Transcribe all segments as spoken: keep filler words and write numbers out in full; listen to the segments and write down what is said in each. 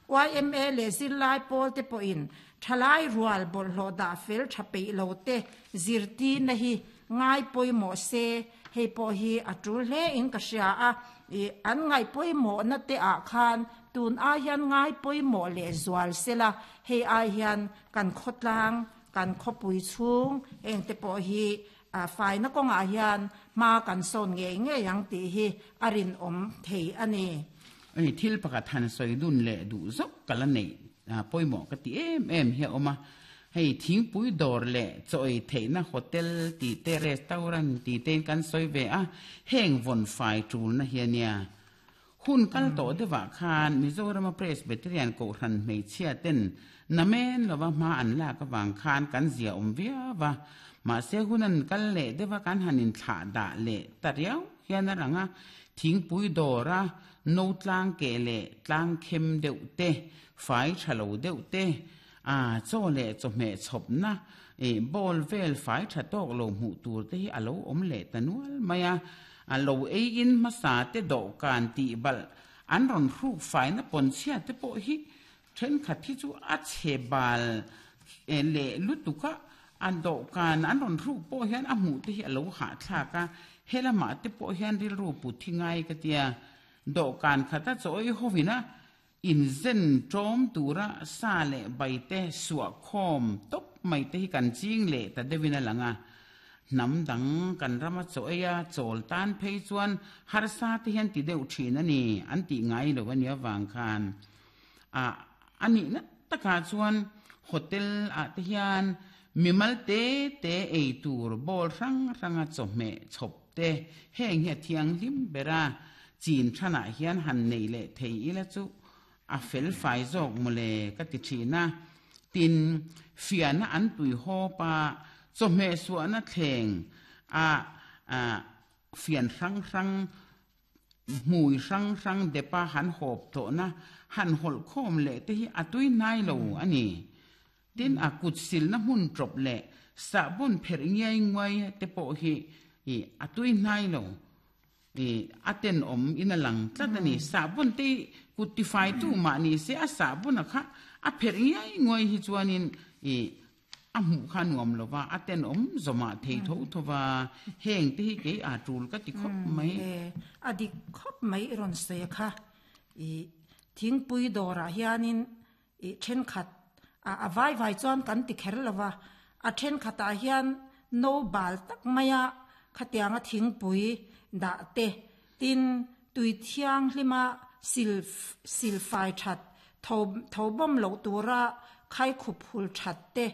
Y M A le zirlai pawl te pawhin thalai rual bawlhhlawh dah fel tha peih lo te zirtir na hi ngai pawimawh se, hei pawh hi a tul hle in ka hria a. An ngai pawimawh na te ah khan tun ai hian ngai pawimawh leh zual sela, hei ai hian kan khawtlang, kan khawpui chhung heng te pawh hi faina kawngah hian hma kan sawn ngei ngei ang tih hi a rinawm thei a ni. Ei thil pakhat han sawi dun leh duh zawk ka la nei pawimawh ka ti em em hi a awm a. Hei thingpui dawr leh chaw ei theihna hotel tih te, restaurant tih te in kan sawi ve a, heng vawn fai tulna hi a nia. Hun kal tawh deuhah khan Mizorama Presbyterian Kohhran hmeichhia ten namen lova hma an lak avang khan kan zia awm viau va. Mahse hun an kal leh deuha kan han inthlah dah leh ta riau hian a rang a, thingpui dawra no tlang keh leh tlang khem deuh te, fai tha lo deuh te, a chaw leh chawhmeh chhawpna bowl vel fai tha tawk lo hmuh tur te hi a lo awm leh ta nual mai a. A lo ei in hmasa te dawhkan tih balh an rawn hruk faina pawn chhia te pawh hi thenkhat hi chu a chhe bal leh lutuk a, a dawhkan an rawn hruk pawh hian a hmuh te hi a lo hahthlak a. Helamah te pawh hian rilru put hi ngai ka tia, dawhkan khata chaw ei hovina inzen tawm tura sa leh bai te suah khawm tawp mai te hi kan ching leh ta deuhin a lang a. Hnam dang kan rama chaw ei a chawl tan phei chuan harsa te hian ti deuh thin a ni, an tih ngai lo a nia vang khan a anihna takah chuan hotel ah te hian mimal te te ei tur bowl hrang hranga chawhmeh chhawp te heng hi a thianghlim bera chin thanah hian han nei leh thei ila chu a fel fai zawk mawle ka ti thin a. Tin, fiana an tui hawpa chawhmeh suahna thleng a fian hrang hrang hmui hrang hrang depa han hawp tawhna han hawlh khawm leh te hi a tui hnai lo a ni. Tin, a kut silna hmun tawp leh sahbawn pherh ngiai nguai te pawh hi a tui hnai lo, a tenawm in a lang tlat a ni. Sahbawn te kut tifai tu mah ni se a sahbawn a kha a pherh ngiai nguai hi chuanin a hmuh kha nuam lova, a tenawm zawmah thei tho thova, heng te hi kei a tul ka ti khawp mai. A dik khawp mai i rawn sawi kha. I thingpui dawrah hianin i thenkhat a vai vai chuan kan ti kher lova, a thenkhatah hian no bal tak maia khatianga thingpui dah te, tin tui thianghlima sil sil fai that tho tho bawm loh tura khai khup hul that te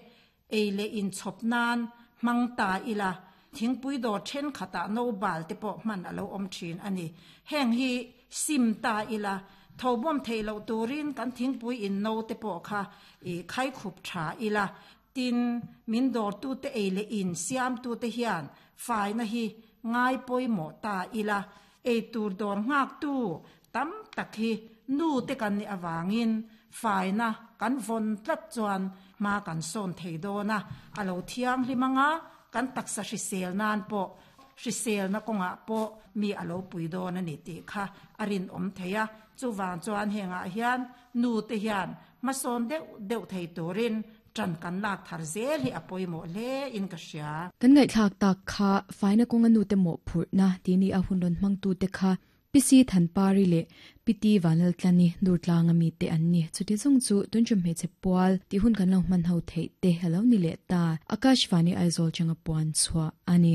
ei leh in chhawp nan hmang ta ila, thingpui dawr thenkhatah no bal te pawh hman a lo awm thin a ni. Heng hi sim ta ila, tho bawm thei loh turin kan thingpui in no te pawh kha i khai khup tha ila. Tin, min dawr tu te ei leh in siam tu te hian faina hi ngai pawimawh ta ila, ei tur dawr nghak tu tam tak hi nu te kan ni awangin faina kan vawn tlat chuan hma kan sawn thei dawn a, a lo thianghlim anga kan taksa hrisel nan pawh, hrisel na kawngah pawh mi a lo pui dawn a ni tih kha a rinawm thei a. Chuwang chuan hengah hian nu te hian hmasawn deuh deuh thei turin tran kan lak thar zel hi a pawimawh hle in ka hria. Kan ngaihthlak tak kha faina kawnga nu te mawh phurhna ti ni a hun rawn hmang tu te kha P C Thanpari leh P T Vanlaltlani, Durtlang ami te an ni. Chuti zawng chu tunchum hmeichhe pual tih hun kan lo hman ho theih te alo ni leh ta. Akashvani Aizawl changa puan chhuah ani.